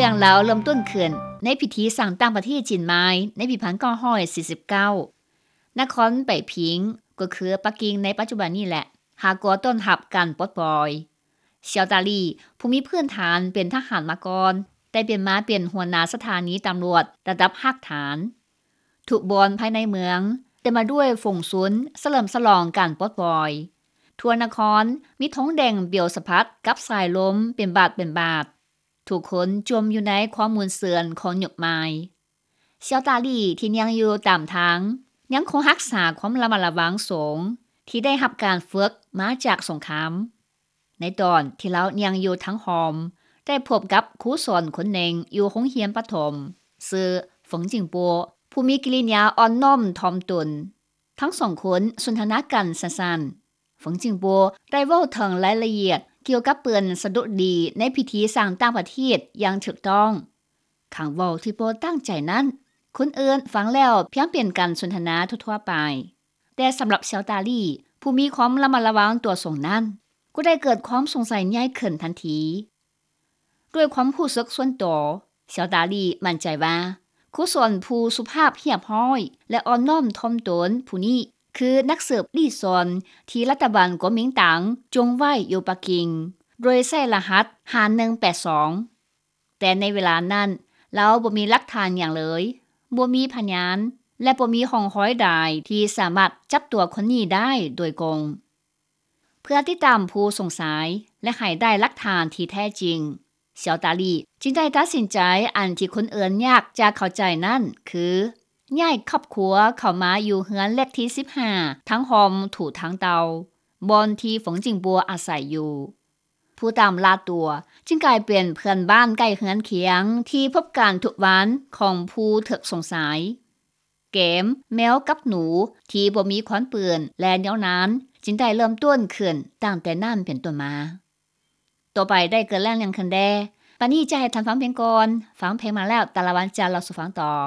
ເລື່ອງລາວເລີ່ມຕົ້ນຂຶ້ນໃນພິທີສ້າງຕັ້ງປະເທດຈີນໃໝ່ໃນປີ 1949. ນະຄອນໄປຜິງ ກໍຄືປັກກິ່ງໃນປັດຈຸບັນນີ້ແຫຼະ ຫາກໍຕ້ອນຮັບການປົດປ່ອຍ. ຊຽວຕາລີ ຜູ້ມີພື້ນຖານເປັນທະຫານມາກ່ອນ ໄດ້ປ່ຽນມາເປັນຫົວໜ້າສະຖານີຕຳຫຼວດລະດັບຮາກຖານ. ທຸກບ່ອນພາຍໃນເມືອງເຕັມມາດ້ວຍຝູງຊົນສະເຫຼີມສະຫຼອງການປົດປ່ອຍ. ທົ່ວນະຄອນມີທົງແດງປຽວສະພັດກັບສາຍລົມເປັນບາດເປັນບາດ. ທຸກຄົນຈົມຢູ່ໃນຄວາມມ່ວນຊື່ນຂອງຍຸກໃໝ່. ຊຽວຕາລີທີ່ຍ່າງຢູ່ຕາມທາງ ຍັງຄົງຮັກສາຄວາມລະມັດລະວັງສູງ ທີ່ໄດ້ຮັບການຝຶກມາຈາກສົງຄາມ. ໃນຕອນທີ່ລາວຍ່າງຢູ່ທາງຮ່ອມ ໄດ້ພົບກັບຄູສອນຄົນໜຶ່ງຢູ່ໂຮງຮຽນປະຖົມ ຊື່ ເຝີງຈິງປົວ ຜູ້ມີກິລິຍາອ່ອນນ້ອມຖ່ອມຕົນ. ທັງສອງຄົນສົນທະນາກັນສັ້ນໆ. ເຝີງຈິງປົວໄດ້ເວົ້າເຖິງລາຍລະອຽດກ່ຽວກັບເປັນສະດຸດດີໃນພິທີສ້າງຕັ້ງປະເທດຢ່າງຖືກຕ້ອງ. ຄຳເວົ້າທີ່ບໍ່ຕັ້ງໃຈນັ້ນ ຄົນອື່ນຟັງແລ້ວພຽງເປັນການສົນທະນາທົ່ວໆໄປ, ແຕ່ສຳລັບຊຽວຕາລີ ຜູ້ມີຄວາມລະມັດລະວັງຕົວສູງນັ້ນ ກໍໄດ້ເກີດຄວາມສົງໄສໃຫຍ່ຂຶ້ນທັນທີ. ດ້ວຍຄວາມຮູ້ສຶກສ່ວນຕົວ, ຊຽວຕາລີໝັ້ນໃຈວ່າ ຄູສອນຜູ້ສຸພາບຮຽບຮ້ອຍ ແລະ ອ່ອນນ້ອມຖ່ອມຕົນຜູ້ນີ້ ຄືນັກສືບລີ້ຊອນ ທີ່ລັດຖະບານກົວມິງຕັງຈົງໄວ້ຢູ່ປັກກິ່ງ ໂດຍໃຊ້ລະຫັດ ຫ້າໜຶ່ງແປດສອງ. ແຕ່ໃນເວລານັ້ນ ລາວບໍ່ມີຫຼັກຖານຫຍັງເລີຍ, ບໍ່ມີພະຍານ ແລະ ບໍ່ມີຮ່ອງຮອຍໃດທີ່ສາມາດຈັບຕົວຄົນນີ້ໄດ້ໂດຍກົງ. ເພື່ອຕິດຕາມຜູ້ສົງໄສ ແລະ ໃຫ້ໄດ້ຫຼັກຖານທີ່ແທ້ຈິງ, ຊຽວຕາລີຈຶ່ງໄດ້ຕັດສິນໃຈອັນທີ່ຄົນອື່ນຍາກຈະເຂົ້າໃຈນັ້ນ ຄື ຍ້າຍຄອບຄົວເຂົ້າມາຢູ່ເຮືອນເລກທີສິບຫ້າ ທາງຮ່ອມຖູທາງເຕົ່າ ບ່ອນທີ່ເຝີງຈິງປົວອາໄສຢູ່. ຜູ້ຕາມລ່າຕົວຈຶ່ງກາຍເປັນເພື່ອນບ້ານໃກ້ເຮືອນຄຽງທີ່ພົບກັນທຸກວັນຂອງຜູ້ຖືກສົງໄສ. ເກມແມວກັບໜູທີ່ບໍ່ມີຄວາມເປື້ອນ ແລະ ຍາວນານ ຈຶ່ງໄດ້ເລີ່ມຕົ້ນຂຶ້ນຕັ້ງແຕ່ນັ້ນເປັນຕົ້ນມາ. ຕໍ່ໄປໄດ້ເກີດເລື່ອງຫຍັງຂຶ້ນແດ່? ປານນີ້ຈະໃຫ້ທ່ານຟັງເພງກ່ອນ, ຟັງເພງມາແລ້ວ ຕາລະວັນຈະເລົ່າສູ່ຟັງຕໍ່.